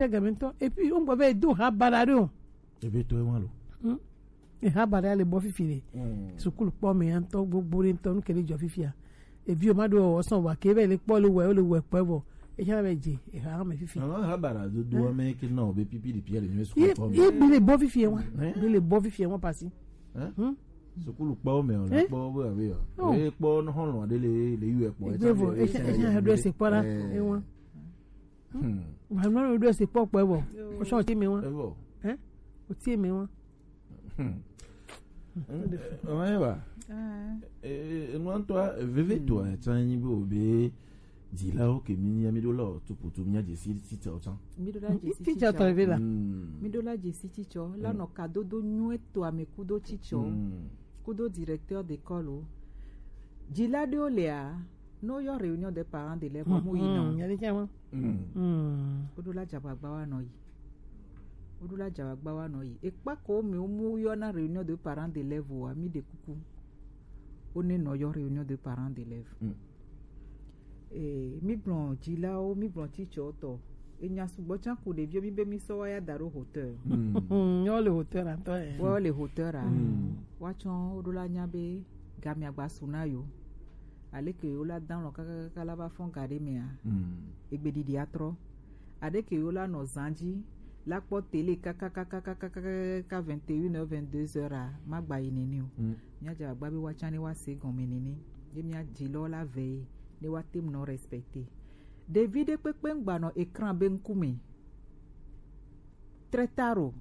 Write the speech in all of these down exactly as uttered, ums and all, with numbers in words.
Tɛgɛ mi tɔ. Et puis on gbɔ bɛ do ha bara do. Ebe to ewan lo. Hmm. E ha bara le bɔ fifi le. Hmm. Sukulu kpɔ me antɔ gbogbo le ntɔ nu kele jɔ fifia. Evi o ma do o sɔn wa ke bɛ le kpɔ le wɛ o le wɛ kpɛ bɔ. E ha bɛ je e ha me fifi. Awa ha bara do do me ke na o be pipi di pia le nyɛ sukulu kpɔ me. Ye bi le bɔ fifi wa. Hein? Bi le bɔ fifi wa pasi. Hein? Hmm? Sukulu kpɔ me o la kpɔ bo abi o. Oh. E kpɔ no hɔn lo de le le yu e kpɔ. Egbe vo e sha e sha do se kpɔ la. Eh. E wa. Hmm. Wa no do se kpɔ kpɛ bɔ. O sɔn ti me wa. E bɔ. Hein? O ti me wa. Hmm. Ɔmɛ wa. Ah. Eh, enu ŋutɔ veve to a tsa nyi be o be dzilawo ke mi nya mi do la o tuputu mi nya dzesi titsa o tsa. Mi do la dzesi titsa tɔ ve la. Hmm. Mi do la dzesi titsa la nɔ kadodo nyuie to ame kudo titsa. Hmm. Kudo directeur d'école o. Dzila ɖewo lia, ne woyɔ réunion des parents d'élèves, mu yina o. Nya ɖe tsa ma. Hmm. Hmm. Woɖo la dzagbagba wa nɔ yi. Woɖo la dzagbagba wa nɔ yi. Ekpa ko mi wo mu yɔ na réunion de parents d'élèves wa, mi ɖe kuku. Wo ne nɔ yɔ réunion de parents d'élèves. Mm. Eh, mi gblɔ dzilawo, mi gblɔ titsɔtɔ. Enya sugbɔ tsa ku ɖeviwo mi be mi sɔ wa ya da ɖo hauteur. Mm. Yɔ le hauteur atɔ ye. Wo le hauteur a. Mm. Wa tsɔ woɖo la nya be gamia gba su na yo. Aleke yo la dan lɔ kakakaka la va fɔn ga ɖe mea. Mm. Egbe ɖiɖi atrɔ. Aɖeke yo la nɔ zan dzi la kpɔ télé kakakaka vingt et une heures, vingt-deux heures a, ma gba yi nene o. Mm. Mía dze agba be woatsã ne woase gɔme nene. Ye mía dzi lɔ la vɛ ye ne woate ŋu nɔ respecter. Ɖevi ɖe kpekpe ŋgba nɔ écran be ŋkume. Très tard o.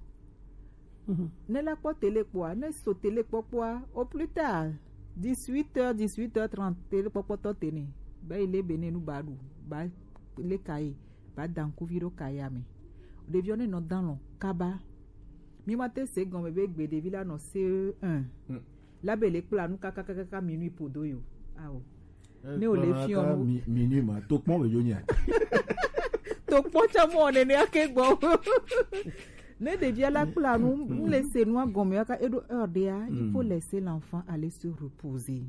Mhm. Ne la kpɔ télé kpɔa, ne so télé kpɔkpɔa, au plus tard, dix-huit heures, dix-huit heures trente, télé kpɔkpɔtɔ tene. Ba yi le be ne nu ba ɖu, ba le ka ye, ba da ŋkuvi ɖo ka ya me. Ɖeviwo ne nɔ dan lɔ kaba. Mi ma te se gɔme be gbe ɖevi la nɔ C E un. Mm. La be le kpla nu kakakaka minuit podo yo. Ao. Ne o le fiɔ nu. Mi-, minuit ma, to kpɔn be yo nya. To kpɔn tsa mɔ nene ake gbɔ. Ne ɖevia la kpla nu, m le se nua gɔme aka eɖo heure ɖea, il faut laisser l'enfant aller se reposer.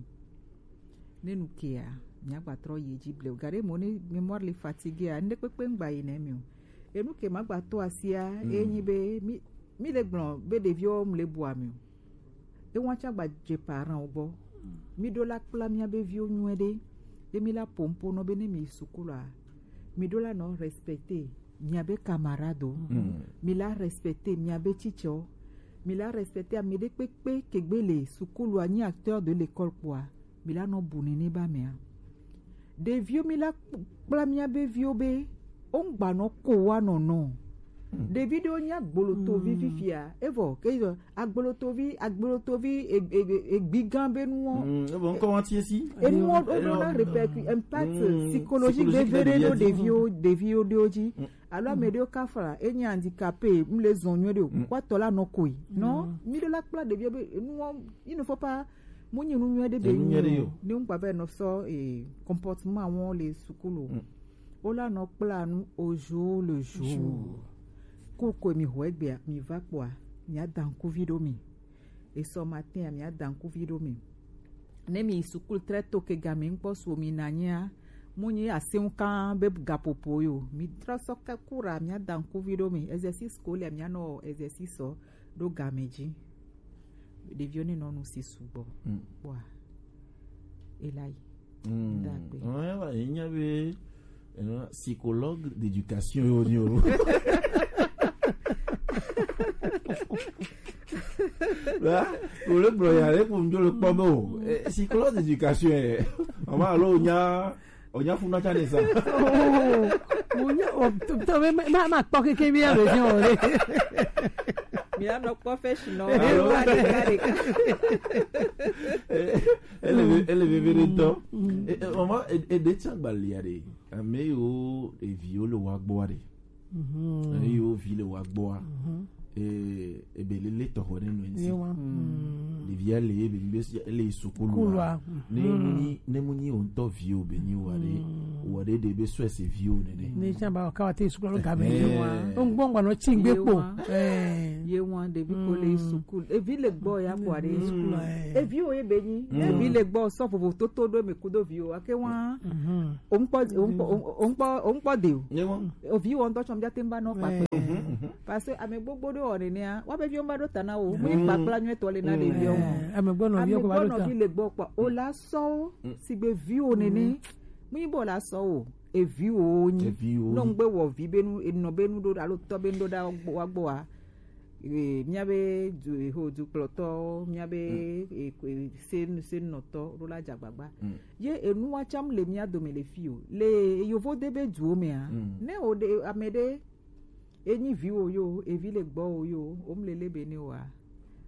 Ne nu kea, mia gba trɔ yi edzi blewu. Gaɖe mo ne mémoire le fatigué a, ne kpekpe ŋgba yi ne mi o. Enu ke ma gba to asia, e nyi be mi, mi le gblɔ be ɖeviwo m le bua mi o. Ewa tsa gba dze parent wo gbɔ. Mi ɖo la kpla mia be viwo nyuie ɖe. Ye mi la pompo nɔ be ne mi yi sukulu a, mi ɖo la nɔ respecter mia be camarade o. Mm. Mi la respecter mia be teacher o. Mi la respecter ame ɖe kpekpe ke gbe le sukulu a nyi acteur de l'école kpɔa. Mi la nɔ bu nene ba mea. Ɖeviwo mi la kp-, kpla mia be viwo be wo ŋgba nɔ ko wa nɔnɔ. Mm. Ɖevi ɖewo nyi agbolotovi fifia. Evɔ ke yɔ agbolotovi, agbolotovi e-, e-, e-, egbigan be nuwo. Mm, evɔ ŋkɔ wa tie si. Enuwo wo ɖo na répercu-, impact psychologique veve ɖe ɖo ɖeviwo, ɖeviwo ɖewo dzi. Mm. Alo ame ɖewo kafra, enyi handicapé, m le zɔn nyuie ɖe o. Mm. Wa tɔ la nɔ koe. Non, mi ɖe la kpla ɖeviwo be enuwo, il ne faut pas Mu nyi nu nyuie ɖe be nyi o. Ne ŋgba vɛ nɔ sɔ, eh, comportement wɔn le sukulu o. Mm. Wo la nɔ kpla nu au jour le jour. Cours ko mi xɔ egbea, mi va kpɔa, mia da ŋkuvi ɖo mi. Esɔ matin a, mia da ŋkuvi ɖo mi. Ne mi yi sukulu très tôt ke game ŋkpɔ su mi na nyia, mu nyi aseŋ kan be gaƒoƒo yo. Mi trɔ sɔ ke cours a, mia da ŋkuvi ɖo mi. Exercice ko le, mia nɔ exercice sɔ ɖo game dzi. Ɖeviwo ne nɔ nu si sugbɔ. Mm. Kpɔa, ela yi. Mm. Dagbe. Ouais, ouais, il y avait, euh, psychologue d'éducation yo, yo. Là, pour le broyard, pour me le kpɔ o. Eh, psychologue d'éducation, eh. On va aller, on a Onya funa tsa ne sa. Oh, onya, oh, to, to, me, me, ma, ma kpɔ keke mi alo fi o le. Mi anɔ kpɔ fɛ si nɔ. Alo. Wa de ka de ka. Eh, ele ve-, ele veve ɖe ŋutɔ. Mm. Eh, eh, mama, e, e ɖe tsa gbalia ɖe. Ame yiwo eviwo le wa gbɔa ɖe. Mhm. Ame yiwo vi le wa gbɔa. Mhm. Eh, ebe lele tɔxɔ ɖe nɔ ŋuti. Yewa. Mm. Ɖevia le ye be nyi be si ele yi sukulu Sukulu a. a. Ne mu nyi ne mu nyi o ŋutɔ vi o be nyi o wa ɖe o wa ɖe ɖe be sɔ ese vi o nene. Ne tsa ba ka wa te sukulu alo game Eh. yi wa. O ŋgbɔ ŋgba nɔ tsi ŋgbe kpo. Ye wa. Eh. Ye wa ɖevi ko le yi sukulu. Evi le gbɔ ya kɔ aɖe. Sukulu, eh. Evi o ye be nyi. Evi le gbɔ sɔ vovo toto ɖo eme kudo vi o. Ake wa. Mhm. O ŋkpɔ o ŋkpɔ o ŋkpɔ o ŋkpɔ de o. Ye wa. Ovi wɔ ŋutɔ tsɔ mi dza te ŋu va nɔ kpakpe. Eh. Parce que ame gbogbo ɖewo wɔ nenea, woabe viwo va ɖo ta na wo. Mu yi kpakpla nyuitɔ le na ɖeviwo. Eh, ame gbɔ nɔvi Ame ko va gbɔ ɖo ta. nɔvi le gbɔ kpɔ. O la sɔ wo, sigbe viwo nene. Mu yi be o la sɔ wo, eviwo wo nyi. Eviwo. Nɔ ŋgbe wɔ vi be nu, enɔ be nu ɖo alo tɔ be nu ɖo ɖa wa gbɔ wa. Eh, míabe du, ho dukplɔtɔ, míabe, eh, eh, sen, sennɔtɔ ɖo la dze agbagba. Ye enua tsam le mía dome le fi o. Le yovo de be duwo mea, ne o ɖe, ame ɖe, enyi viwo yo, evi le gbɔ o yo, o mu le le be ne wa.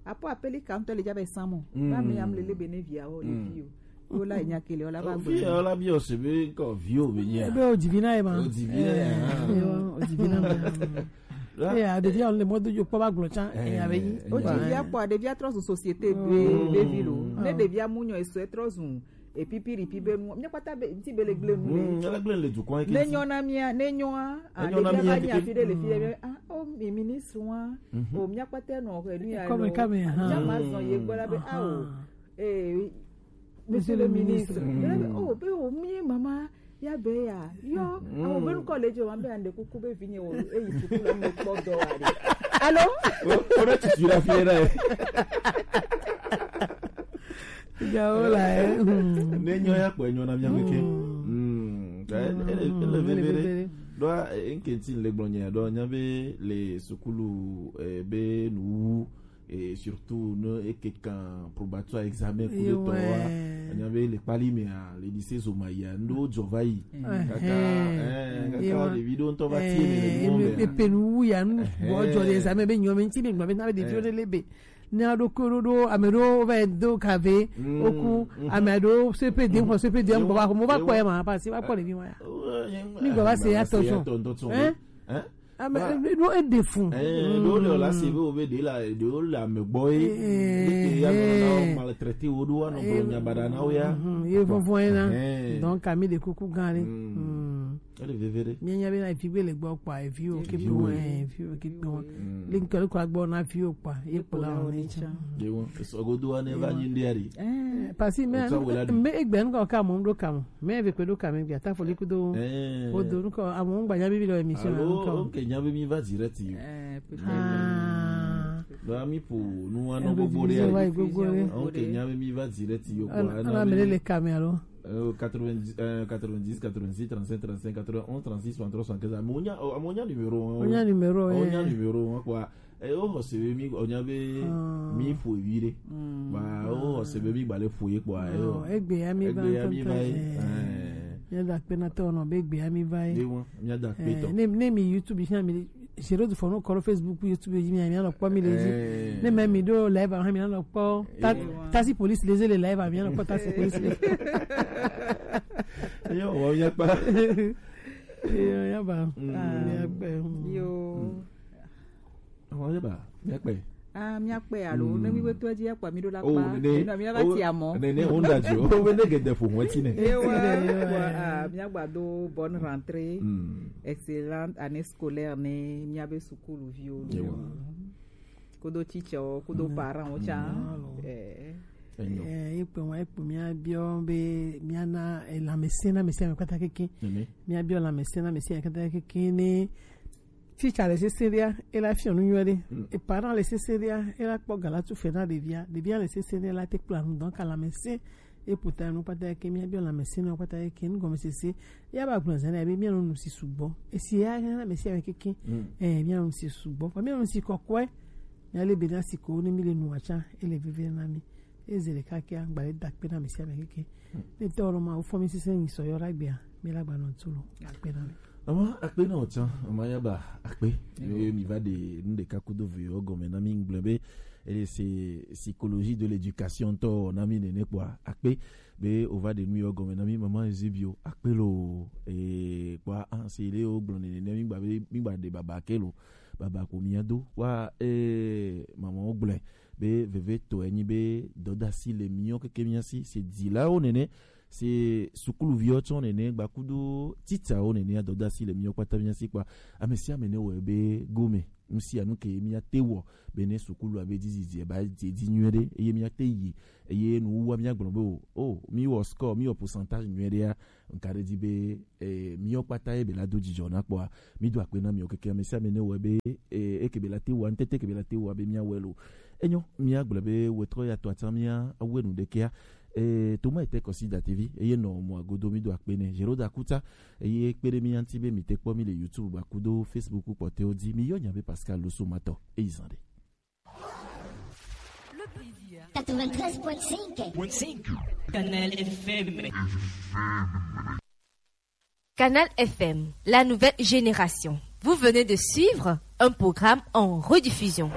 Apo apeli kantɔ le dza be samɔ. Ba me ya mu le le be ne via o, le fi o. O la nya kele, o la va Fi gbe. ya la bi o se be ko vi o be nya. Ebe o dzi vi na ye ma. O dzi vi na ye, Eh, ah. yo, o dzi vi na ma. La- Eh, a ɖevia le mɔ do dzo kpɔ va gblɔ tsã, eh, a be nyi. O dzi via kpɔ, ɖevia trɔ zu société be, be vi lo. Ne ɖevia mu nyɔ eso, e trɔ zu, e pipi ripi be nu. Mía kpata be, ŋuti be le gble nu le. Mm, ele gble le dukɔa ke Ne ŋuti. nyɔ na mía, ne nyɔa, a Enyo na ɖevia mía va nyi keke. afi ɖe le fi ɖe be, ah, o mi ministre wa, o mía kpata nɔ he nu ya Kɔme lo. kame, ha. Tsã ma zɔn ye gbɔ la be, ah, o. Eh, Monsieur le ministre. Mm. Oh, be o mi mama ya be ya. Yo, ah, o be nu kɔ le dze wa be ande kuku be vinye o, e yi sukulu me kpɔ dɔ wa de. Allô? O, o ɖe tutu la fi ɖe. Gawo la, eh. Mm. Ne nyɔ ya kpɔ nyɔ na mía keke. Mm. Mm. Ele, ele, ele vevere. Ɖo, eh, nke ti le gblɔ nye ɖo nya be le sukulu, eh, be nu et surtout ne eke kan probatoire examen ku de tɔ wa. Anya be le kpali me a, le di se zo ma ya ndo jo va yi. Kaka, eh, kaka ɖevi ɖo ŋutɔ va tie me le mo me. Epe nu wu ya nu bɔ jɔ le examen be nyɔ me ŋuti be nyɔ me na be ɖevi ɖe le be. Ne aɖo ko ɖo ɖo ame ɖo va do kave oku ame ɖo C P D xɔ C P D ŋgɔ va ko mo va kpɔ ya ma parce que va kpɔ ɖevi ma ya. Mi gɔ va se ya tɔ sɔn. Hein? Ame ɖo e ɖe fun. Eh, ɖo le la se be o be ɖe la ɖe o le ame gbɔ ye. Eh, ya no na maltraité wo ɖo wa no gblɔ nya baɖa na wo ya. Ye vɔvɔ ye na. Donc ami de kuku gan le. Ele veve ɖe. Mía nya be na vi gbe le gbɔ kpa vi o ke bu eh vi o ke bu. Le nkele ko agbɔ na vi o kpa ye kpla o ne cha. Ye wo so godo wa ne va nyi ndi ari. Eh, parce que me me egbe nko ka mo do ka mo. Me ve kwe do ka me gbe ta fo le kudo. Eh. O do nko amo ngba nya bi bi lo émission Alo, nko. Oke nya be mi va direct yo. Eh, peut-être. Ah. Ba mi po nu wa no Ebe gbogbo di re. Wa gbogbo re. Oke nya be mi va direct yo kwa. Ala mele le ka me alo. Euh, quatre-vingt-dix, euh, quatre-vingt-dix, quatre-vingt-six, trente-cinq, trente-cinq, quatre-vingt-onze, trente-six, soixante-trois, soixante-quinze. Amonya, oh, amonya numéro, hein. Onya numéro, Onya eh. numéro, hein, quoi. Eh, oh, c'est mi, onya be, Ah. mi fo vire. Mm. Bah, oh, c'est mi balé fouillé, quoi. Eh, Oh, oh. egbe ya mi Egbe va ya mi tonton, va, eh. eh. Ya da pe na to no be egbe ya mi va, eh. Ni won, mi da pe Eh, to. ne, ne mi YouTube, iṣẹ́ mi, ṣe ló ti fọ̀nù kọ́ ló Facebook, YouTube, yìí mi, mi lọ pọ́ mi lè jí. Eh. Ne mẹ́ mi dó live, àwọn mi lọ pọ́. Ta-, Eh. Tasi police lè zélé live, mi lọ pọ́ tasi police lè. Yo, wọ́n yẹ pa. Yo, ya ba. Mm. Ya pẹ́. Yo. Wọ́n yẹ ba, yẹ pẹ́. Ah, míakpɛ alo, ne mi be to edzi akpa mi ɖo la Oh, kpa. nene. Eno mi va Oh, ti amɔ. nene, wo da jo. Wo be ne gede fo mo ti ne. Ewa, Ewa. Ewa, ah, míagbado bonne rentrée, Mm. excellente année scolaire ne míabe sukuluviwo. Ewa. Kodo teacher, kodo Mm. parent wo tsa. Mm, alo. Eh. Enyo. Eh, ekpe wa, ekpe míabiɔ be míana, eh, lãmesẽ na ame sia ame kpata keke. Nene. Míabiɔ lãmesẽ na ame sia ame kpata keke ne Teacher le sesẽɖia, ela fiɔ nu nyuie ɖe. Mm. E parent le sesẽɖia, ela kpɔ ga la tu fe na ɖevia. Ɖevia le sesẽɖia, ela te kpla nu. Donc, lãmesẽ, e puta nu kpata ke, míabiɔ lãmesẽnɔ kpata ke, nu gɔmesese. Ya ba gblɔ zã na be míanɔ nu si sugbɔ. Esi ya na ame sia ame keke. Mm. Eh, míanɔ nu si sugbɔ. Vɔ míanɔ nu si kɔkɔe. Míale be na si ko ne mi le nua tsã, ele veve na mi. Eze ɖeka kea, gba le da akpe na ame sia ame keke. Ne tɔ lɔ ma, wofɔ mi sese nyi sɔ yɔ ɖe agbea, mi la gba nɔ tu lo. Akpe na mi. Ama akpe na otsã, ama ya ba akpe. Yo. Mi, mi va de nu ɖeka kudo ve yɔ gɔme na mi ŋgble be, ele se psychologie de l'éducation tɔ na mi nene kpɔa, akpe be o va de nu yɔ gɔme na mi mama Eusebio, akpe lo, e, kpɔa, an se le o gblɔ nene ne mi gba be, mi gba de baba ke lo. baba ko mia do wa e mama o gblɔe be veve to enyi be dɔdasi le mia keke mia si se dilawo nene se sukuluviwo tsɔ nene gbakudo titawo nene dɔdasi le mia kpata mia si kpa ame sia ame ne wɔ be gome nusia nu ke mia te wɔ be ne sukulu abe dizidzi ba didi nyuie ɖe eye mia te yi eye nuwuwa mia gblɔ be o o mi wɔ score mi wɔ pourcentage nyuie ɖea nka ɖe di be eh, miwo kpata ye be la do dzidzɔ na kpɔa mi do akpe na miwo keke ame sia ame ne wɔ be eh, eke be la te wɔ ntete ke be la te wɔ be mia wɔ lo enyo mia gblɔ be wetɔ ya tɔ ata mia awe nu ɖekea eh, toma ete kɔsi da tv eye nɔ mɔ agodo mi do akpe ne zero da kuta eye kpe ɖe mi anti be mi te kpɔ mi le youtube ba kudo facebook kpɔtɛwo di mi yɔ nya be pascal loso matɔ eyi zan ɖe Quatre-vingt-treize point cinq. Canal F M. Canal F M, la nouvelle génération. Vous venez de suivre un programme en rediffusion.